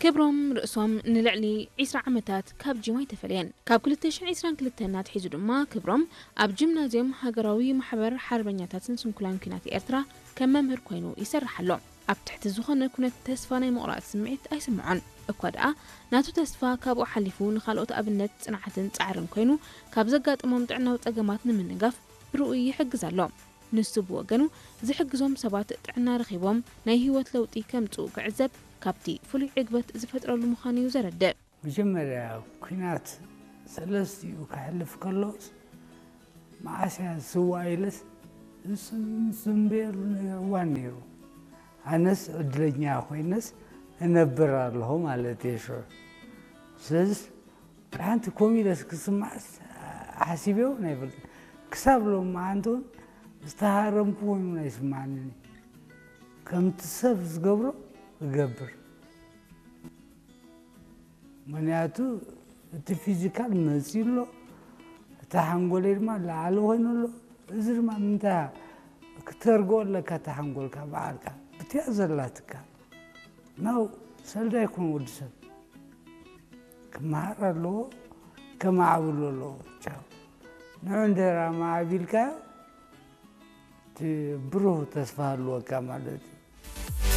ክብሮም ርእሶም ንልዕሊ ዕስራ ዓመታት ካብ ጂም ኣይተፈለየን። ካብ ክልተ ሽሕን ዕስራን ክልተን ኣትሒዙ ድማ ክብሮም ኣብ ጂምናዝየም ሃገራዊ ማሕበር ሓርበኛታትን ስንኩላን ኲናት ኤርትራ ከም መምህር ኮይኑ ይሰርሕ ኣሎ። ኣብ ትሕቲ ዝኾነ ኩነት ተስፋ ናይ ምቑራጽ ስምዒት ኣይስምዖን። እኳ ደኣ ናቱ ተስፋ ካብኡ ሓሊፉ ንኻልኦት ኣብነት ጽንዓትን ጻዕርን ኮይኑ ካብ ዘጋጥሞም ጥዕናዊ ጸገማት ንምንጋፍ ብርኡይ ይሕግዝ ኣሎ። ንሱ ብወገኑ ዝሕግዞም ሰባት ጥዕና ረኺቦም ናይ ህይወት ለውጢ ከምጽኡ ክዕዘብ ካብቲ ፍሉይ ዕግበት ዝፈጥረሉ ምዃኑ እዩ ዘረድእ። መጀመርያ ኲናት ሰለስቲኡ ከሕልፍ ከሎስ መዓስያ ዝስዋእ ኢለስ ዝጽንበየሉ እዋን ነይሩ። ኣነስ ዕድለኛ ኮይነስ እነብር ኣለኹ ማለት እየ ሽዑ። ስለዚስ ሓንቲ ኮሚለስ ክስማዕስ ሓሲበ እውን ኣይፈልጥን። ክሳብ ሎም መዓንቲ እውን ዝተሃረምኩ ኮይኑ ኣይስማዓንን እዩ። ከምቲ ሰብ ዝገብሮ እገብር። ምክንያቱ እቲ ፊዚካል መፂኡ ኣሎ፣ እቲ ሓንጎለይ ድማ ላዓሊ ኮይኑ ኣሎ። እዚ ድማ ምንታይ ክተርግኦ ኣለካ እቲ ሓንጎልካ በዓልካ ብትያ ዘላትካ ናው ሰልዳ ይኮን ወዲ ሰብ ክመሃር ኣለዎ፣ ከማዕብሎ ኣለዎ። ቻው ንዑ እንድሕር ኣማዕቢልካዮ እቲ ብሩህ ተስፋ ኣለወካ ማለት እዩ።